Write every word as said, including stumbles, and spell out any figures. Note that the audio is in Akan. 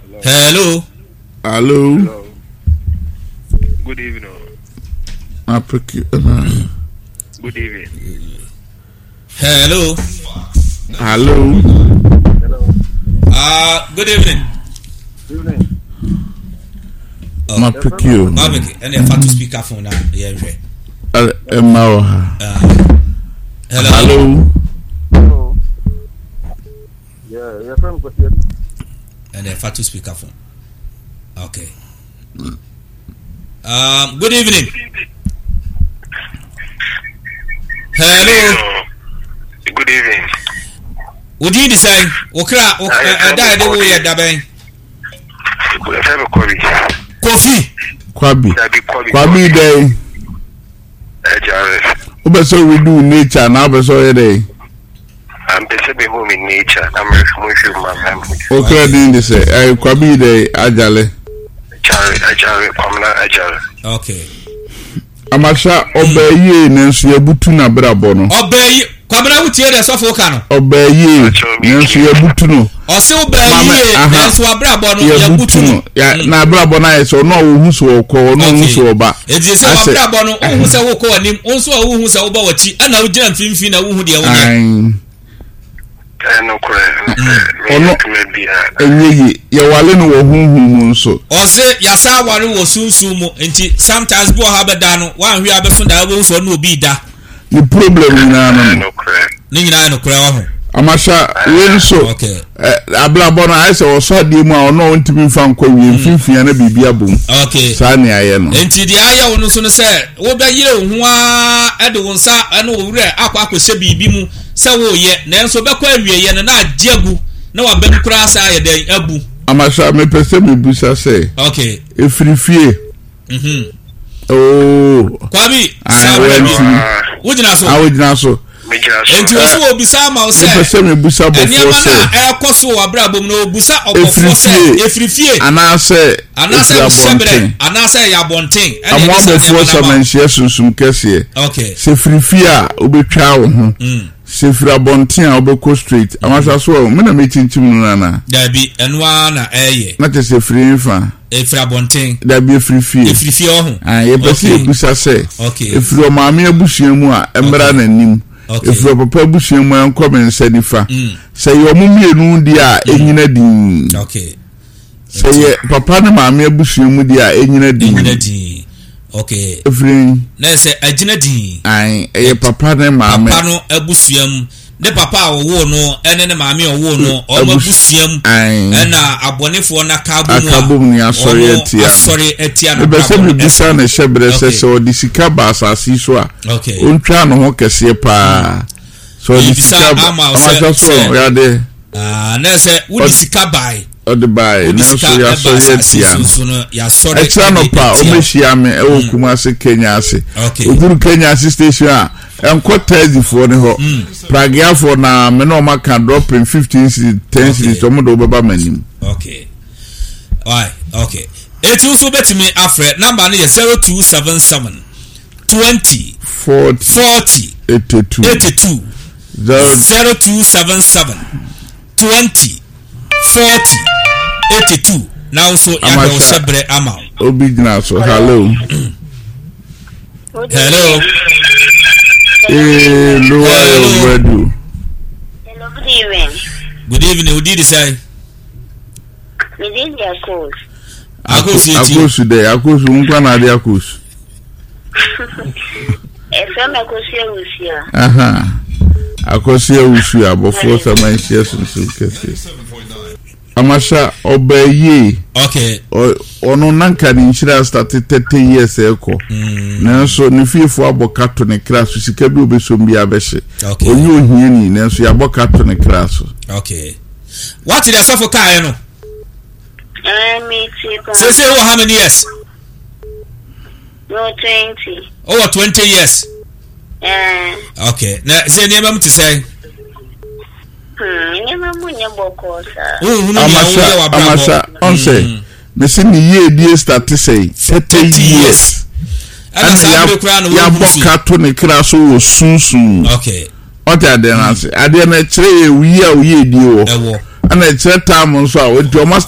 Hello. Hello. Hello. Good evening. Apeke. Good evening. Hello. Hello. Hello. Uh, good evening. Evening. Oh. Mapeke o. Mapeke. Ɛna ɛfa to speaker phone na yɛn hwɛ. Ɛma wɔ ha. Hello. Hello. Hello. Yeah, your friend Kwesi. Ɛna ɛfa to speaker phone. Okay. Um, good evening. Hello. Good evening. Wòdi di sɛn? Wòkra ɛda yɛ de wo yɛ dabɛn. Ɛfɛ mi Kɔbi. Kofi. Kwabi. Dabi Kɔbi. Kwabi dɛ. Ɛgyare. Wopɛ sɛ woredi wo nature anaa wopɛ sɛ ɔyɛ dɛ? Ampɛ sɛ mehu me nature na mehwɛ mu ma me. Wokra din de sɛ ɛyɛ Kwabi dɛ agyale. Agyare agyare Kwamina agyare. Okay. Amasa ɔbaa yie nanso yɛbutu n'abrabɔ no. Ɔbaa yie Kwabena wotie deɛ sɔfo ka no. Ɔbaa yie nanso yɛbutu no. Ɔse ɔbaa yie nanso abrabɔ no yɛbutu no. Mm. Na abrabɔ no ayɛ sɛ ɔno a wohu sɛ ɔkɔ ɔno a wohu sɛ ɔba. Eti sɛ wabrabɔ no wohu sɛ wokɔ w'anim wo nso a wohu sɛ woba w'akyi ɛna wogyina mfimfini na wohu deɛ wonyɛ. Ɔno ɛnyɛ yie yɛwale no wɔ honhom mu nso. Ɔse yasa aware wɔ sunsum mu nti sometimes bi wɔ ha bɛda no wanhwɛ abɛso da wobɛhu sɛ ɔne obi da. Ne problem nyinaa no no. Ne nyinaa yɛ nokorɛ wɔ ho. Amasa wei nso abrabɔ no ayɛ sɛ ɔsɔ adeɛ mu a ɔno a ɔntumi nfa nkɔ wie mm. mfimfini ana biribi abom. Okay. Saa ne ayɛ no. Nti deɛ ayɛ wo no so no sɛ wobɛyere wo ho ara de wo nsa ne wo werɛ akɔ akɔhyɛ biribi mu sɛ woreyɛ nanso bɛkɔ awieɛ no na agye agu na wabam koraa saa ayɛ dɛn abu. Amasa mepɛ sɛ mebusa sɛ. Okay. Efiri fie. Mhm. Oo. Kwabi saa bɛrɛ bi wogyina so. A wogyina so. Nti wɔ so wɔ bisa ama wo sɛ. Mepɛ sɛ mebusa bɔfoɔ sɛ. Nneɛma no a ɛrekɔ so wɔ abrabɔ mu no obusa ɔbɔfoɔ sɛ efiri fie. Anaasɛ anaasɛ hyɛbrɛ anaasɛ ɛyɛ abɔnten. Amoa bɔfoɔ samanhyia sunsum kɛseɛ. Okay. Sɛ firi fie a wobɛtwa wo ho. Mm. Sɛ firi abɔnten a wobɛkɔ straight. Amasa so ɔ me na mekyinkyim no no anaa? Dabi, ɛno ara na ɛyɛ. Na kyerɛ sɛ firi nfa. Efiri abɔnten. Dabi efiri fie. Efiri fie ɔho. Ah, yɛpɛ sɛ yɛbusa sɛ. Okay. Efiri ɔmaame abusua mu a ɛmmra n'anim. Okay. Efiri ɔpapa abusua mu a ɛnkɔ me nsa nifa. Mm. Sɛ yɛ ɔmo mmienu deɛ a ɛnyina din. Okay. Sɛ yɛ papa ne maame abusua mu deɛ a ɛnyina din. Ɛnyina din. Okay. Efiri. Na sɛ agyina din. Ayi ɛyɛ papa ne maame. Papa no abusua mu ne papa a ɔwoo no ɛne ne maame a ɔwoo no ɔmo abusua mu ɛna abɔnefoɔ no aka abom a aka abom ne asɔre atia asɔre atia no. Mepɛ sɛ mebisa ne hyɛbrɛ sɛ sɛ ɔde sika ba asase yi so a ɔntwa ne ho kɛseɛ paa. Sɛ ɔde sika ba ɔmahyɛ so yadeɛ. Na sɛ wode sika bae ɔde bae nanso yɛasɔre atia no ɛkyerɛ anɔpa ɔmɛhyia me ɛwɔ mm. Kumase Kenya ase oduru Kenya ase station a ɛnkɔ taxifoɔ ne hɔ mm. pragiafoɔ na me na ɔma ka dropping fifteen cedis ten cedis ɔmo de ɔbɛba m'anim. Okay. Why? Okay. Eti nso bɛtumi afrɛ namba no yɛ zero two seven seven twenty forty eighty two eighty two zero two seven seven twenty forty eighty two na nso yàgbɛ ɔhyɛ brɛ ama o. Obi gyina so hello. Hello. Ee lower your radio. Hello, good evening. Good evening. Odi di sɛn. Mi di di Akos. Akos yɛ ti. Akosu dɛ Akosu nkwa na adi Akosu. Ɛfɛ mi Akosu Awusia. Akosu Awusia abɔfoɔ samanhyia sunsun kɛseɛ. Amasha ɔbaa yie. Okay. Ɔno nanka ne nhyira astate thirty years ɛkɔ. Mm. Nanso ne fiefo abɔ ka to ne kra so sika bi obesom bi abɛhye. Okay. Onye ohiani nanso yɛabɔ ka to ne kra so. Okay. Wate deɛ sɔfo kaeɛ no? Eh, me ti pa. Sese wɔ how many years? No twenty. Ɔwɔ twenty years. Eh. Okay. Na sɛ nneɛma mu te sɛ? Hmm, nneɛma mu nyɛ bɔkɔɔ saa. Wohunu nea woyɛ w'abrabɔ. Amasa, ɔn sɛ, mm. mesi ne yie die start sɛ thirty years. Ɛna saa bere koraa na yɛabɔ ka to ne kra so wɔ sunsun. Okay. Ɔte adeɛ no ase. Adeɛ no ɛkyerɛ yɛ yi a oyie die wɔ. Ɛwɔ. Ɛna ɛkyerɛ taam nso a ɔnti ɔma